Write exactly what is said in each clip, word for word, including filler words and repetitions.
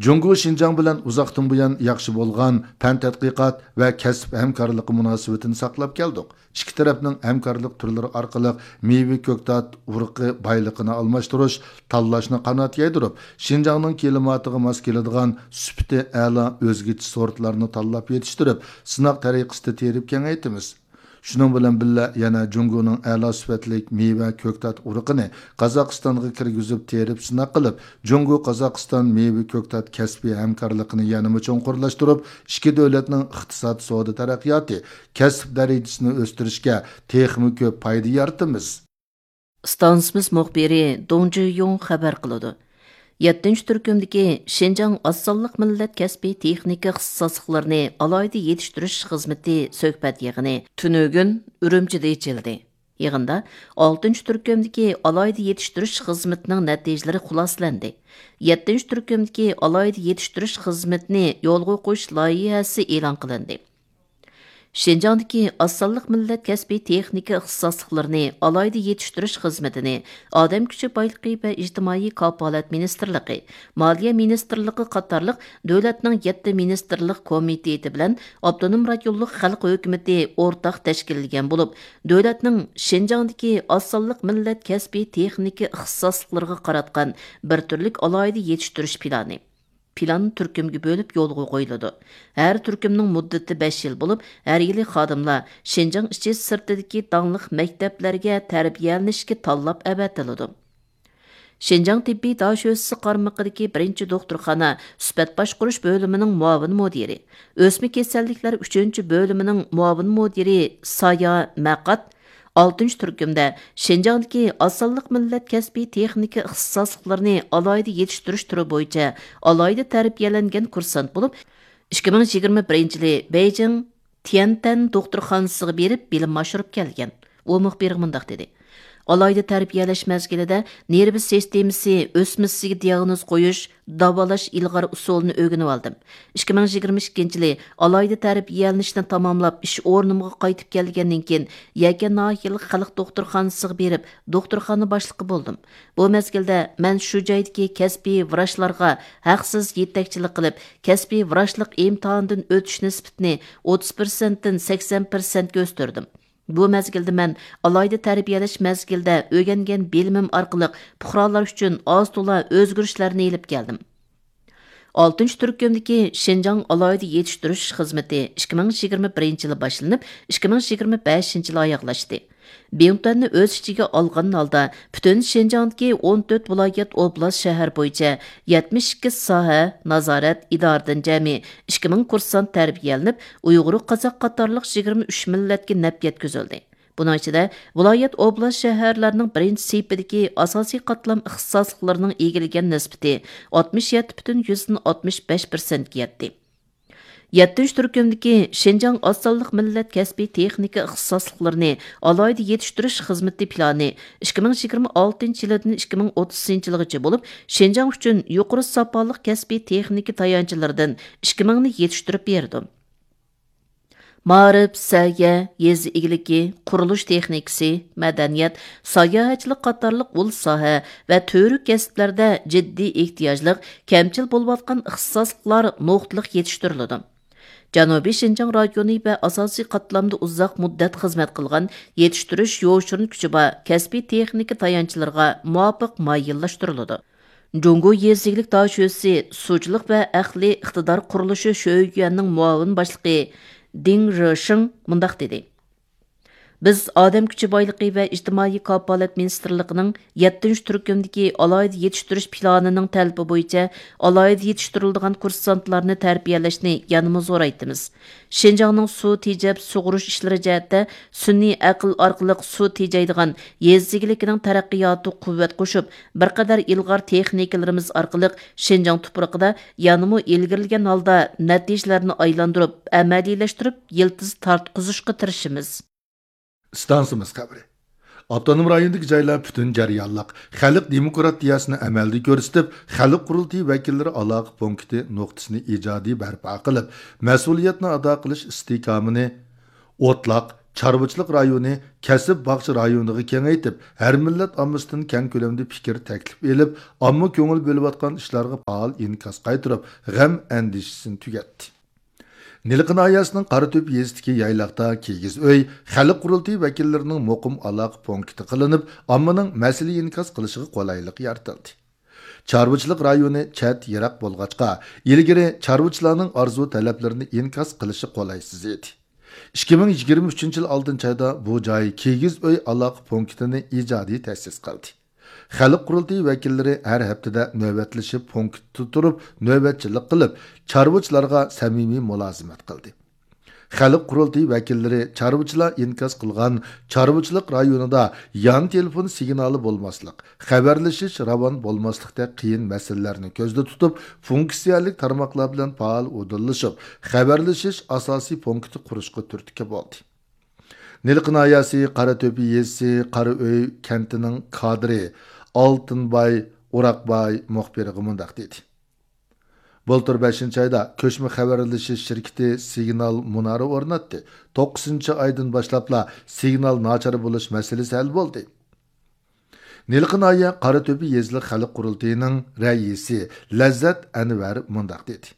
جۇڭگو شىنجاڭ بىلەن ئۇزاقتىن بۇيان ياخشى بولغان پەن تەتقىقات ۋە كەسىپ ھەمكارلىقى مۇناسىۋىتىنى ساقلاپ كەلدۇق. ئىككى تەرەپنىڭ ھەمكارلىق تۈرلىرى ئارقىلىق مېۋە، كۆكتات ئۇرۇقى بايلىقىنى ئالماشتۇرۇش، تاللاشنى قانات يايدۇرۇپ، شىنجاڭنىڭ كىلىماتىغا ماس كېلىدىغان سۈپىتى ئەلا ئۆزگىچە سورتلارنى تاللاپ يېتىشتۈرۈپ، سىناق تەرىقىسىدە تېرىپ كېڭەيتىمىز. شۇنىڭ بىلەن بىللە، يەنە جۇڭگونىڭ ئەلا سۈپەتلىك مېۋە، كۆكتات ئۇرۇقىنى قازاقىستانغا كىرگۈزۈپ تېرىپ سىناق قىلىپ، جۇڭگو قازاقىستان مېۋە، كۆكتات كەسپىي ھەمكارلىقىنى يەنىمۇ چوڭقۇرلاشتۇرۇپ، ئىككى دۆلەتنىڭ ئىقتىساد، سودا تەرەققىياتى، كەسىپ دەرىجىسىنى ئۆستۈرۈشكە تېخىمۇ كۆپ پايدا يارىتىمىز. ئىستانسىمىز مۇخبىرى دۇڭ جىيۇڭ خەۋەر قىلىدۇ. يەتتىنچى تۈركۈمدىكى شىنجاڭ ئاز سانلىق مىللەت كەسپىي تېخنىكا ئىختىساسلىقلىرىنى ئالاھىدە يېتىشتۈرۈش خىزمىتى سۆھبەت يىغىنى تۈنۈگۈن ئۈرۈمچىدە ئېچىلدى. يىغىندا ئالتىنچى تۈركۈمدىكى ئالاھىدە يېتىشتۈرۈش خىزمىتىنىڭ نەتىجىلىرى خۇلاسىلەندى. يەتتىنچى تۈركۈمدىكى ئالاھىدە يېتىشتۈرۈش خىزمىتىنى يولغا قويۇش لايىھەسى ئېلان قىلىندى. شىنجاڭدىكى ئاز سانلىق مىللەت كەسپىي تېخنىكا ئىختىساسلىقلىرىنى ئالاھىدە يېتىشتۈرۈش خىزمىتىنى ئادەم كۈچى بايلىقى ۋە ئىجتىمائىي كاپالەت مىنىستىرلىقى، مالىيە مىنىستىرلىقى قاتارلىق دۆلەتنىڭ يەتتە مىنىستىرلىق كومىتېتى بىلەن ئاپتونوم رايونلۇق خەلق ھۆكۈمىتى ئورتاق تەشكىللىگەن بولۇپ، دۆلەتنىڭ شىنجاڭدىكى ئاز سانلىق مىللەت كەسپىي تېخنىكا ئىختىساسلىقلىرىغا قاراتقان بىر تۈرلۈك ئالاھىدە يېتىشتۈرۈش پىلانى، پىلان تۈركۈمگە بۆلۈپ يولغا قويۇلىدۇ. ھەر تۈركۈمنىڭ مۇددىتى بەش يىل بولۇپ، ھەر يىلى خادىملار شىنجاڭ ئىچى سىرتىدىكى داڭلىق مەكتەپلەرگە تەربىيەلىنىشكە تاللاپ ئەۋەتىلىدۇ. شىنجاڭ تېببىي داشۆسىسى قارمىقىدىكى بىرىنچى دوختۇرخانا سۈپەت باشقۇرۇش بۆلۈمىنىڭ مۇئاۋىن مۇدىرى، ئۆسمە كېسەللىكلەر ئۈچىنچى بۆلۈمىنىڭ مۇئاۋىن مۇدىرى سايا مەقات ئالتىنچى تۈركۈمدە شىنجاڭدىكى ئاز سانلىق مىللەت كەسپىي تېخنىكا ئىختىساسلىقلىرىنى ئالاھىدە يېتىشتۈرۈش تۈرى بويىچە ئالاھىدە تەربىيەلەنگەن كۇرسانت بولۇپ، ئىككى مىڭ يىگىرمە بىرىنچى يىلى بېيجىڭ تيەنتەن دوختۇرخانىسىغا بېرىپ بىلىم ئاشۇرۇپ كەلگەن. ئۇ مۇخبىرغا مۇنداق دېدى: ئالاھىدە تەربىيەلەش مەزگىلىدە نېرۋا سىستېمىسى ئۆسمىسىگە دىئاگنوز قويۇش، داۋالاش ئىلغار ئۇسۇلىنى ئۆگىنىۋالدىم. ئىككى مىڭ يىگىرمە ئىككىنچى يىلى ئالاھىدە تەربىيەلىنىشنى تاماملاپ، ئىش ئورنۇمغا قايتىپ كەلگەندىن كېيىن، يەكەن ناھىيەلىك خەلق دوختۇرخانىسىغا بېرىپ، دوختۇرخانا باشلىقى بولدۇم. بۇ مەزگىلدە مەن شۇ جايدىكى كەسپىي ۋراچلارغا ھەقسىز يېتەكچىلىك قىلىپ، كەسپىي ۋراچلىق ئىمتىھانىدىن ئۆتۈش نىسبىتىنى ئوتتۇز پىرسەنتتىن سەكسەن پىرسەنتكە ئۆستۈردۈم. بۇ مەزگىلدە مەن ئالاھىدە تەربىيەلەش مەزگىلىدە ئۆگەنگەن بىلىمىم ئارقىلىق پۇقرالار ئۈچۈن ئاز تولا ئۆزگىرىشلەرنى ئېلىپ كەلدىم. ئالتىنچى تۈركۈمدىكى شىنجاڭ ئالاھىدە يېتىشتۈرۈش خىزمىتى ئىككى مىڭ يىگىرمە بىرىنچى يىلى باشلىنىپ، ئىككى مىڭ يىگىرمە بەشىنچى يىلى ئاياغلاشتى. بىڭتۈەننى ئۆز ئىچىگە ئالغان ھالدا، پۈتۈن شىنجاڭدىكى ئون تۆت ۋىلايەت، ئوبلاست، شەھەر بويىچە يەتمىش ئىككى ساھە، نازارەت، ئىدارىدىن جەمئىي ئىككى مىڭ كۇرسانت تەربىيەلىنىپ، ئۇيغۇر، قازاق قاتارلىق يىگىرمە ئۈچ مىللەتكە نەپ يەتكۈزۈلدى. بۇنىڭ ئىچىدە، ۋىلايەت، ئوبلاست، شەھەرلەرنىڭ بىرىنچى سېپىدىكى ئاساسىي قاتلام ئىختىساسلىقلىرىنىڭ ئىگىلىگەن نىسبىتى ئاتمىش يەتتە پۈتۈن يۈزدىن ئاتمىش بەش پىرسەنتكە يەتتى. يەتتىنچى تۈركۈمدىكى شىنجاڭ ئاز سانلىق مىللەت كەسپىي تېخنىكا ئىختىساسلىقلىرىنى ئالاھىدە يېتىشتۈرۈش خىزمىتى پىلانى ئىككى مىڭ يىگىرمە ئالتىنچى يىلىدىن ئىككى مىڭ ئوتتۇزىنچى يىلغىچە بولۇپ، شىنجاڭ ئۈچۈن يۇقىرى ساپالىق كەسپىي تېخنىكا تايانچلىرىدىن ئىككى مىڭنى يېتىشتۈرۈپ بېرىدۇ. مائارىپ، سەھىيە، يېزا ئىگىلىكى، قۇرۇلۇش تېخنىكىسى، مەدەنىيەت، ساياھەتچىلىك قاتارلىق ئۇل ساھە ۋە تۈۋرۈك كەسىپلەردە جىددىي ئېھتىياجلىق، كەمچىل بولۇۋاتقان ئىختىساسلىقلار نۇقتىلىق يېتىشتۈرۈلىدۇ. جەنۇبىي شىنجاڭ رايونى ۋە ئاساسىي قاتلامدا ئۇزاق مۇددەت خىزمەت قىلغان يېتىشتۈرۈش يوشۇرۇن كۈچى بار كەسپىي تېخنىكا تايانچلىرىغا مۇۋاپىق مايىللاشتۇرۇلىدۇ. جۇڭگو يېزا ئىگىلىك داشۆسى سۇچىلىق ۋە ئەقلىي ئىقتىدار قۇرۇلۇشى شۆيۈەننىڭ مۇئاۋىن باشلىقى دىڭ رېشىڭ مۇنداق دېدى: بىز ئادەم كۈچى بايلىقى ۋە ئىجتىمائىي كاپالەت مىنىستىرلىقىنىڭ يەتتىنچى تۈركۈمدىكى ئالاھىدە يېتىشتۈرۈش پىلانىنىڭ تەلىپى بويىچە ئالاھىدە يېتىشتۈرۈلىدىغان كۇرسانتلارنى تەربىيەلەشنى يەنىمۇ زورايتىمىز. شىنجاڭنىڭ سۇ تېجەپ سۇغۇرۇش ئىشلىرى جەھەتتە سۈنئىي ئەقىل ئارقىلىق سۇ تېجەيدىغان يېزا ئىگىلىكىنىڭ تەرەققىياتىغا قۇۋۋەت قوشۇپ، بىر قەدەر ئىلغار تېخنىكىلىرىمىز ئارقىلىق شىنجاڭ تۇپرىقىدا يەنىمۇ ئىلگىرىلىگەن ھالدا نەتىجىلەرنى ئايلاندۇرۇپ، ئەمەلىيلەشتۈرۈپ، يىلتىز تارتقۇزۇشقا تىرىشىمىز. ئىستانسىمىز خەۋىرى. ئاپتونوم رايوندىكى جايلار پۈتۈن جەريانلىق خەلق دېموكراتىيەسىنى ئەمەلدە كۆرسىتىپ، خەلق قۇرۇلتىيى ۋەكىللىرى ئالاقە پونكىتى نۇقتىسىنى ئىجادىي بەرپا قىلىپ، مەسئۇلىيەتنى ئادا قىلىش ئىستىھكامىنى ئوتلاق، چارۋىچىلىق رايونى كەسىپ باغچە رايونىغا كېڭەيتىپ، ھەر مىللەت ئاممىسىدىن كەڭ كۆلەمدە پىكىر، تەكلىپ ئېلىپ، ئامما كۆڭۈل بۆلۈۋاتقان ئىشلارغا پائال ئىنكاس قايتۇرۇپ، غەم ئەندىشىسىنى تۈگەتتى. نىلقا ناھىيەسىنىڭ قاراتۆپە يېزىسىدىكى يايلاقتا كىگىز ئۆي خەلق قۇرۇلتىيى ۋەكىللىرىنىڭ مۇقىم ئالاقە پونكىتى قىلىنىپ، ئاممىنىڭ مەسىلە ئىنكاس قىلىشىغا قولايلىق يارىتىلدى. چارۋىچىلىق رايونى چەت، يىراق بولغاچقا، ئىلگىرى چارۋىچىلارنىڭ ئارزۇ تەلەپلىرىنى ئىنكاس قىلىشى قولايسىز ئىدى. ئىككى مىڭ يىگىرمە ئۈچىنچى يىل ئالتىنچى ئايدا بۇ جاي كىگىز ئۆي ئالاقە پونكىتىنى ئىجادىي تەسىس قىلدى. خەلق قۇرۇلتىيى ۋەكىللىرى ھەر ھەپتىدە نۆۋەتلىشىپ، پونكىتتا تۇرۇپ نۆۋەتچىلىك قىلىپ، چارۋىچىلارغا سەمىمىي مۇلازىمەت قىلدى. خەلق قۇرۇلتىيى ۋەكىللىرى چارۋىچىلار ئىنكاس قىلغان چارۋىچىلىق رايونىدا يان تېلېفون سىگنالى بولماسلىق، خەۋەرلىشىش راۋان بولماسلىقتەك قىيىن مەسىلىلەرنى كۆزدە تۇتۇپ، فۇنكسىيەلىك تارماقلار بىلەن پائال ئۇدۇللىشىپ، خەۋەرلىشىش ئاساسىي پونكىتى قۇرۇشقا تۈرتكە بولدى. نىلقا ناھىيەسى قاراتۆپە يېزىسى قارا ئۆي كەنتىنىڭ كادىرى ئالتۇنباي ئوراقباي مۇخبىرغا مۇنداق دېدى. بۇلتۇر بەشىنچى ئايدا كۆچمە خەۋەرلىشىش شىركىتى سىگنال مۇنارى ئورناتتى. توققۇزىنچى ئايدىن باشلاپلا سىگنال ناچار بولۇش مەسىلىسى ھەل بولدى. نىلقا ناھىيە قاراتۆپە يېزىلىق خەلق قۇرۇلتىيىنىڭ رەئىسى لەززەت ئەنۋەر مۇنداق دېدى.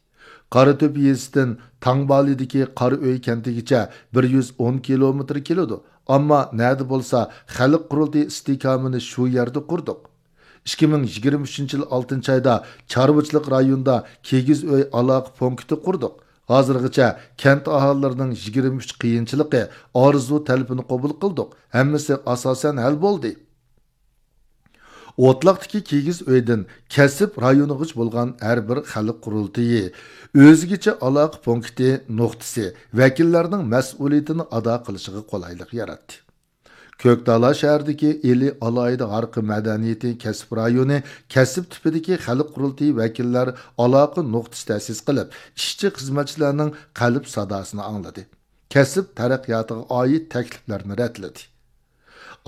قاراتۆپە يېزىسىدىن تاڭبالىدىكى قارا ئۆي كەنتىگىچە بىر يۈز ئون كىلومېتىر كېلىدۇ. ئەمما نەدە بولسا خەلق قۇرۇلتىيى ئىستىھكامىنى شۇ يەردە قۇردۇق. ئىككى مىڭ يىگىرمە ئۈچىنچى يىل ئالتىنچى ئايدا چارۋىچىلىق رايونىدا كىگىز ئۆي ئالاقە پونكىتى قۇردۇق. ھازىرغىچە كەنت ئاھالىلىرىنىڭ يىگىرمە ئۈچ قىيىنچىلىقى، ئارزۇ تەلىپىنى قوبۇل قىلدۇق. ھەممىسى ئاساسەن ھەل بولدى. ئوتلاقتىكى كىگىز ئۆيدىن كەسىپ رايونىغىچە بولغان ھەر بىر خەلق قۇرۇلتىيى ئۆزگىچە ئالاقە پونكىتى، نۇقتىسى، ۋەكىللەرنىڭ مەسئۇلىيىتىنى ئادا قىلىشىغا قولايلىق ياراتتى. كۆكتالا شەھىرىدىكى ئىلى ئالاھىدە ھارقى مەدەنىيىتى كەسىپ رايونى كەسىپ تىپىدىكى خەلق قۇرۇلتىيى ۋەكىللەر ئالاقە نۇقتىسى تەسىس قىلىپ، ئىشچى خىزمەتچىلەرنىڭ قەلب ساداسىنى ئاڭلىدى. كەسىپ تەرەققىياتىغا ئائىت تەكلىپلەرنى رەتلىدى.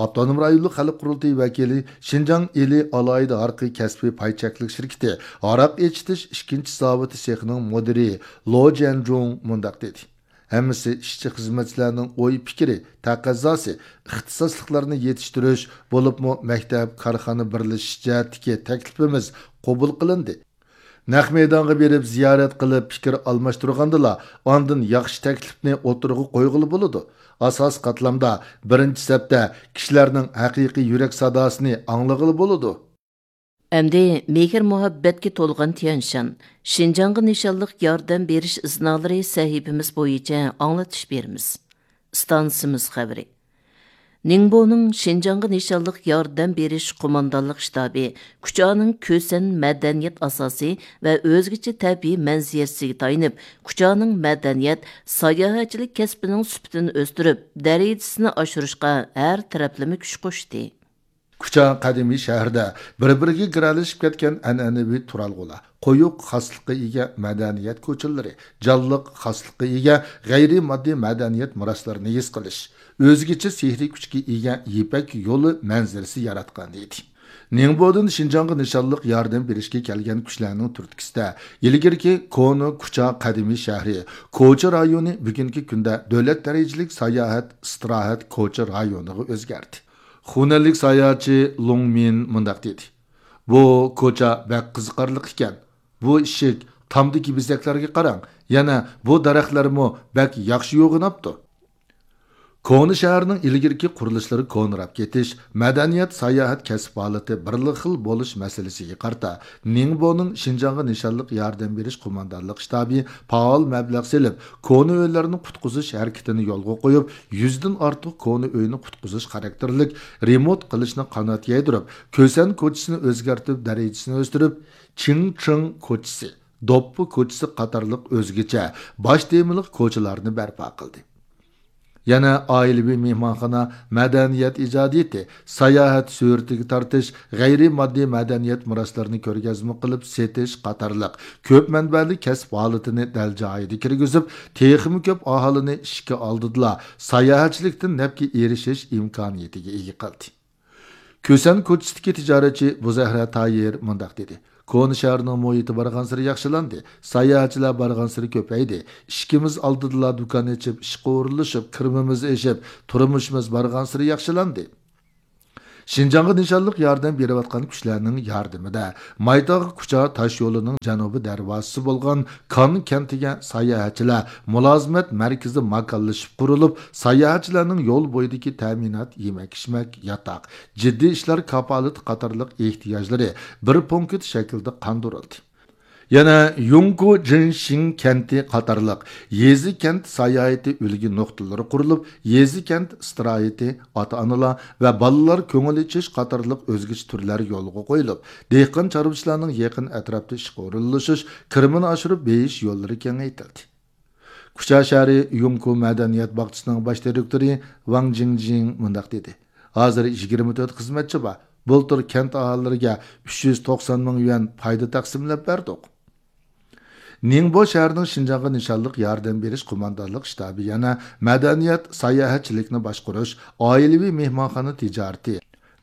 ئاپتونوم رايونلۇق خەلق قۇرۇلتىيى ۋەكىلى شىنجاڭ ئىلى ئالاھىدە ھارقى كەسپىي پاي چەكلىك شىركىتى ھاراق ئېچىتىش ئىككىنچى زاۋۇتى سېخىنىڭ مۇدىرى لو جيەنجۇڭ مۇنداق دېدى. ھەممىسى ئىشچى خىزمەتچىلەرنىڭ ئوي پىكرى، تەقەززاسى، ئىختىساسلىقلارنى يېتىشتۈرۈش، بولۇپمۇ مەكتەپ، كارخانا بىرلىشىش جەھەتتىكى تەكلىپىمىز قوبۇل قىلىندى. نەق مەيدانغا بېرىپ زىيارەت قىلىپ پىكىر ئالماشتۇرغاندىلا، ئاندىن ياخشى تەكلىپنى ئوتتۇرىغا قويغىلى بولىدۇ. ئاساسىي قاتلامدا، بىرىنچى سەپتە كىشىلەرنىڭ ھەقىقىي يۈرەك ساداسىنى ئاڭلىغىلى بولىدۇ. ئەمدى مېھىر-مۇھەببەتكە تولغان تيەنشان، شىنجاڭغا نىشانلىق ياردەم بېرىش ئىزنالىرى سەھىپىمىز بويىچە ئاڭلىتىش بېرىمىز. ئىستانسىمىز خەۋىرى. نىڭبونىڭ شىنجاڭغا نىشانلىق ياردەم بېرىش قوماندانلىق شتابى كۇچانىڭ كۈسەن مەدەنىيەت ئاساسى ۋە ئۆزگىچە تەبىئىي مەنزىرىسىگە تايىنىپ، كۇچانىڭ مەدەنىيەت، ساياھەتچىلىك كەسپىنىڭ سۈپىتىنى ئۆستۈرۈپ، دەرىجىسىنى ئاشۇرۇشقا ھەر تەرەپلىمە كۈچ قوشتى. كۇچا قەدىمىي شەھىرىدە بىر-بىرىگە گىرەلىشىپ كەتكەن ئەنئەنىۋى تۇرالغۇلار، قويۇق خاسلىققا ئىگە مەدەنىيەت كوچىلىرى، جانلىق خاسلىققا ئىگە غەيرىي ماددىي مەدەنىيەت مىراسلىرىنى ھېس قىلىش، ئۆزگىچە سېھرىي كۈچكە ئىگە يىپەك يولى مەنزىرىسى ياراتقان ئىدى. نىڭبودىن شىنجاڭغا نىشانلىق ياردەم بېرىشكە كەلگەن كۈچلەرنىڭ تۈرتكىسىدە، ئىلگىرىكى كونا كۇچا قەدىمىي شەھىرى، كوچا رايونى بۈگۈنكى كۈندە دۆلەت دەرىجىلىك ساياھەت، ئىستىراھەت، كوچا رايونىغا ئۆزگەردى. خۇنەنلىك ساياھەتچى لۇڭ مىن مۇنداق دېدى: بۇ كوچا بەك قىزىقارلىق ئىكەن. بۇ ئىشىك تامدىكى بېزەكلەرگە قاراڭ، يەنە بۇ دەرەخلەرمۇ بەك ياخشى يوغىناپتۇ. كونا شەھەرنىڭ ئىلگىرىكى قۇرۇلۇشلىرى كونىراپ كېتىش، مەدەنىيەت، ساياھەت كەسىپ ھالىتى بىرلا خىل بولۇش مەسىلىسىگە قارىتا، نىڭبونىڭ شىنجاڭغا نىشانلىق ياردەم بېرىش قوماندانلىق شتابى پائال مەبلەغ سېلىپ، كونا ئۆيلەرنى قۇتقۇزۇش ھەرىكىتىنى يولغا قويۇپ، يۈزدىن ئارتۇق كونا ئۆينى قۇتقۇزۇش خاراكتېرلىك رېمونت قىلىشنى قانات يايدۇرۇپ، كۈسەن كوچىسىنى ئۆزگەرتىپ، دەرىجىسىنى ئۆستۈرۈپ، چىڭ چىڭ كوچىسى، دوپپا كوچىسى قاتارلىق ئۆزگىچە باش تېمىلىق كوچىلارنى بەرپا قىلدى. يەنە ئائىلىۋى مېھمانخانا، مەدەنىيەت ئىجادىيىتى، ساياھەت سۈرىتىگە تارتىش، غەيرىي ماددىي مەدەنىيەت مىراسلىرىنى كۆرگەزمە قىلىپ سېتىش قاتارلىق كۆپ مەنبەلىك كەسىپ ھالىتىنى دەل جايىدا كىرگۈزۈپ، تېخىمۇ كۆپ ئاھالىنى ئىشىكى ئالدىدىلا ساياھەتچىلىكتىن نەپكە ئېرىشىش ئىمكانىيىتىگە ئىگە قىلدى. كۈسەن كوچىسىدىكى تىجارەتچى بۇزەھرە تايىر مۇنداق دېدى: كونا شەھەرنىڭ مۇھىتى بارغانسېرى ياخشىلاندى، ساياھەتچىلەر بارغانسېرى كۆپەيدى، ئىشىكىمىز ئالدىدىلا دۇكان ئېچىپ، ئىشقا ئورۇنلىشىپ، كىرىمىمىز ئېشىپ، تۇرمۇشىمىز بارغانسېرى ياخشىلاندى. شىنجاڭغا نىشانلىق ياردەم بېرىۋاتقان كۈچلەرنىڭ ياردىمىدە، مايتاغ كۇچا تاش يولىنىڭ جەنۇبىي دەرۋازىسى بولغان كان كەنتىگە ساياھەتچىلەر مۇلازىمەت مەركىزى ماكانلىشىپ قۇرۇلۇپ، ساياھەتچىلەرنىڭ يول بويىدىكى تەمىنات، يېمەك-ئىچمەك، ياتاق، جىددىي ئىشلار كاپالىتى قاتارلىق ئېھتىياجلىرى بىر پونكىت شەكلىدە قاندۇرۇلدى. يەنە يۇڭكۇ جىنشىڭ كەنتى قاتارلىق يېزا كەنت ساياھىتى ئۈلگە نۇقتىلىرى قۇرۇلۇپ، يېزا كەنت ئىستىراھىتى، ئاتا-ئانىلار ۋە بالىلار كۆڭۈل ئېچىش قاتارلىق ئۆزگىچە تۈرلەر يولغا قويۇلۇپ، دېھقان چارۋىچىلارنىڭ يېقىن ئەتراپتا ئىشقا ئورۇنلىشىش، كىرىمىنى ئاشۇرۇپ بېيىش يوللىرى كېڭەيتىلدى. كۇچا شەھىرى يۇڭكۇ مەدەنىيەت باغچىسىنىڭ باش دىرېكتورى ۋاڭ جىڭجىڭ مۇنداق دېدى: ھازىر يىگىرمە تۆت خىزمەتچى بار. بۇلتۇر كەنت ئاھالىلىرىگە ئۈچ يۈز توقسان مىڭ يۈەن پايدا تەقسىملەپ بەردۇق. نىڭبو شەھىرىنىڭ شىنجاڭغا نىشانلىق ياردەم بېرىش قوماندانلىق شتابى يەنە مەدەنىيەت، ساياھەتچىلىكنى باشقۇرۇش، ئائىلىۋى مېھمانخانا تىجارىتى،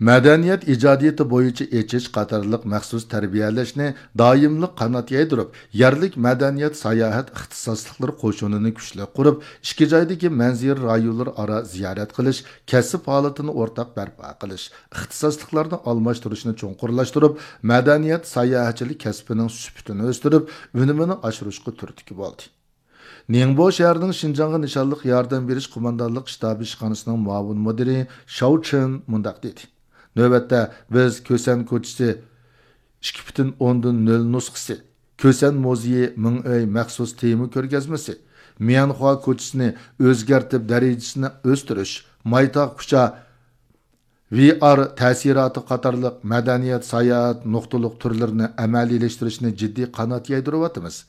مەدەنىيەت ئىجادىيىتى بويىچە ئېچىش قاتارلىق مەخسۇس تەربىيەلەشنى دائىملىق قانات يايدۇرۇپ، يەرلىك مەدەنىيەت ساياھەت ئىختىساسلىقلىرى قوشۇنىنى كۈچلۈك قۇرۇپ، ئىككى جايدىكى مەنزىرە رايونلىرى ئارا زىيارەت قىلىش، كەسىپ ھالىتىنى ئورتاق بەرپا قىلىش، ئىختىساسلىقلارنى ئالماشتۇرۇشنى چوڭقۇرلاشتۇرۇپ، مەدەنىيەت ساياھەتچىلىك كەسپىنىڭ سۈپىتىنى ئۆستۈرۈپ، ئۈنۈمىنى ئاشۇرۇشقا تۈرتكە بولدى. نىڭبو شەھىرىنىڭ شىنجاڭغا نىشانلىق ياردەم بېرىش قوماندانلىق شتابى ئىشخانىسىنىڭ مۇئاۋىن مۇدىرى شاۋ چېن مۇنداق دېدى: نۆۋەتتە بىز كۆسەن كوچىسى ئىككى پۈتۈن ئوندىن نۆل نۇسخىسى، كۆسەن مۇزېيى مىڭ ئۆي مەخسۇس تېما كۆرگەزمىسى، ميەنخۇا كوچىسىنى ئۆزگەرتىپ دەرىجىسىنى ئۆستۈرۈش، مايتاغ كۇچا ۋى ئار تەسىراتى قاتارلىق مەدەنىيەت ساياھەت نۇقتىلىق تۈرلىرىنى ئەمەلىيلەشتۈرۈشنى جىددىي قانات يايدۇرۇۋاتىمىز.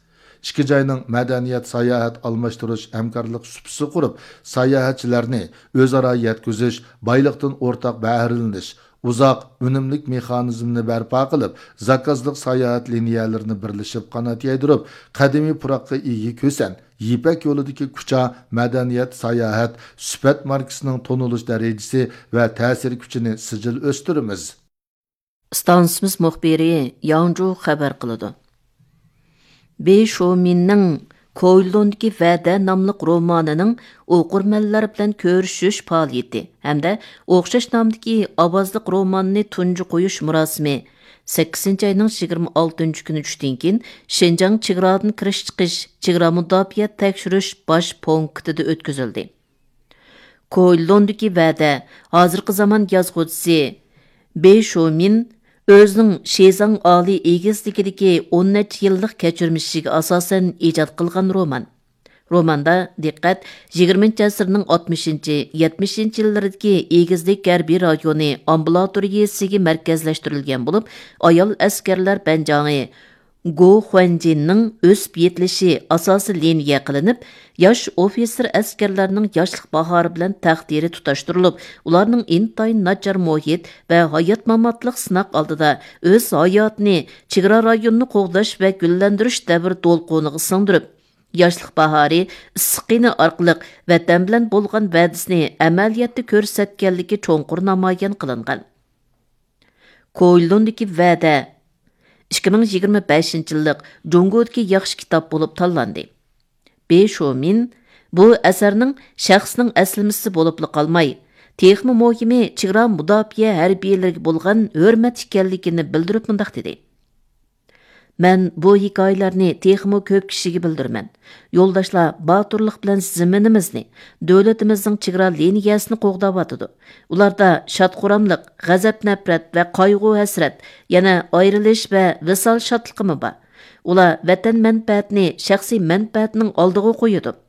ئىككى جاينىڭ مەدەنىيەت ساياھەت ئالماشتۇرۇش ھەمكارلىق سۇپىسى قۇرۇپ، ساياھەتچىلەرنى ئۆزئارا يەتكۈزۈش، بايلىقتىن ئورتاق بەھرىلىنىش، ئۇزاق، ئۈنۈملۈك مېخانىزمنى بەرپا قىلىپ، زاكازلىق ساياھەت لىنىيەلىرىنى بىرلىشىپ قانات يايدۇرۇپ، قەدىمىي پۇراققا ئىگە كۆسەن، يىپەك يولىدىكى كۇچا مەدەنىيەت ساياھەت سۈپەت ماركىسىنىڭ تونۇلۇش دەرىجىسى ۋە تەسىر كۈچىنى سىجىل ئۆستۈرىمىز. ئىستانسىمىز مۇخبىرى ياڭجۇ خەۋەر قىلىدۇ. بې شومىننىڭ كويلۇندىكى ۋەدە ناملىق رومانىنىڭ ئوقۇرمەنلەر بىلەن كۆرۈشۈش پائالىيىتى ھەمدە ئوخشاش نامدىكى ئاۋازلىق روماننى تۇنجى قويۇش مۇراسىمى سەككىزىنچى ئاينىڭ يىگىرمە ئالتىنچى كۈنى چۈشتىن كېيىن شىنجاڭ چېگرادىن كىرىش چىقىش، چېگرا مۇداپىئە تەكشۈرۈش باش پونكىتىدا ئۆتكۈزۈلدى. كويلۇندىكى ۋەدە، ھازىرقى زامان يازغۇچىسى بې شومىن ئۆزىنىڭ شىزاڭ ئالىي ئېگىزلىكىدىكى ئون نەچچە يىللىق كەچۈرمىشىگە ئاساسەن ئىجاد قىلغان رومان. روماندا دىققەت يىگىرمىنچى ئەسىرنىڭ ئاتمىشىنچى، يەتمىشىنچى يىللىرىدىكى ئېگىزلىك ھەربىي رايونى ئامبۇلاتورىيىسىگە مەركەزلەشتۈرۈلگەن بولۇپ، ئايال ئەسكەرلەر بەنجاڭى گو خۇەنجىننىڭ ئۆسۈپ يېتىلىشى ئاساسىي لىنىيە قىلىنىپ، ياش ئوفىتسېر ئەسكەرلەرنىڭ ياشلىق باھارى بىلەن تەقدىرى تۇتاشتۇرۇلۇپ، ئۇلارنىڭ ئىنتايىن ناچار مۇھىت ۋە ھايات-ماماتلىق سىناق ئالدىدا ئۆز ھاياتىنى چېگرا رايونىنى قوغداش ۋە گۈللەندۈرۈش دەۋر دولقۇنىغا سىڭدۈرۈپ، ياشلىق باھارى، ئىسسىق قېنى ئارقىلىق ۋەتەن بىلەن بولغان ۋەدىسىنى ئەمەلىيەتتە كۆرسەتكەنلىكى چوڭقۇر نامايان قىلىنغان. كويلۇندىكى ۋەدە ئىككى مىڭ يىگىرمە بەشىنچى يىللىق جۇڭگودىكى ياخشى كىتاب بولۇپ تاللاندى. بې شومىن بۇ ئەسەرنىڭ شەخسنىڭ ئەسلىمىسى بولۇپلا قالماي، تېخىمۇ مۇھىمى چېگرا مۇداپىئە ھەربىيلىرىگە بولغان ھۆرمەت ئىكەنلىكىنى بىلدۈرۈپ مۇنداق دېدى: مەن بۇ ھېكايىلەرنى تېخىمۇ كۆپ كىشىگە بىلدۈرىمەن. يولداشلار باتۇرلۇق بىلەن زېمىنىمىزنى، دۆلىتىمىزنىڭ چېگرا لىنىيەسىنى قوغداۋاتىدۇ. ئۇلاردا شاد-خۇراملىق، غەزەپ-نەپرەت ۋە قايغۇ-ھەسرەت، يەنە ئايرىلىش ۋە ۋىسال شادلىقىمۇ بار. ئۇلار ۋەتەن مەنپەئەتىنى شەخسىي مەنپەئەتنىڭ ئالدىغا قويىدۇ.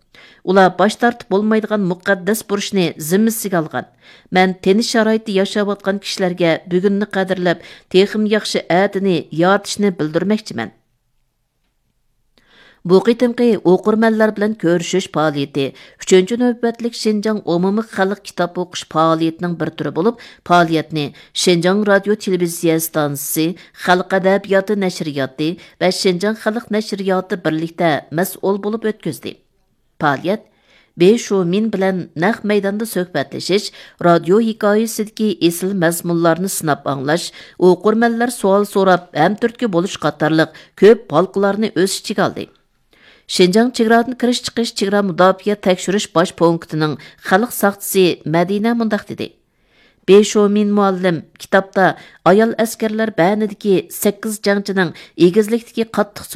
ئۇلار باش تارتىپ بولمايدىغان مۇقەددەس بۇرچنى زىممىسىگە ئالغان. مەن تىنچ شارائىتتا ياشاۋاتقان كىشىلەرگە بۈگۈننى قەدىرلەپ، تېخىمۇ ياخشى ئەتىنى يارىتىشنى بىلدۈرمەكچىمەن. بۇ قېتىمقى ئوقۇرمەنلەر بىلەن كۆرۈشۈش پائالىيىتى ئۈچىنچى نۆۋەتلىك شىنجاڭ ئومۇمىي خەلق كىتاب ئوقۇش پائالىيىتىنىڭ بىر تۈرى بولۇپ، پائالىيەتنى شىنجاڭ رادىيو تېلېۋىزىيە ئىستانسىسى، خەلق ئەدەبىياتى نەشرىياتى ۋە شىنجاڭ خەلق نەشرىياتى بىرلىكتە مەسئۇل بولۇپ ئۆتكۈزدى. پائالىيەت بې شومىن بىلەن نەق مەيداندا سۆھبەتلىشىش، رادىيو ھېكايىسىدىكى ئېسىل مەزمۇنلارنى سىناپ ئاڭلاش، ئوقۇرمەنلەر سوئال سوراپ ھەم تۈرتكە بولۇش قاتارلىق كۆپ ھالقىلارنى ئۆز ئىچىگە ئالدى. شىنجاڭ چېگرادىن كىرىش چىقىش چېگرا مۇداپىئە تەكشۈرۈش باش پونكىتىنىڭ خەلق ساقچىسى مەدىنە مۇنداق دېدى: بې شومىن مۇئەللىم كىتابتا ئايال ئەسكەرلەر بەنىدىكى سەككىز جەڭچىنىڭ ئېگىزلىكتىكى قاتتىق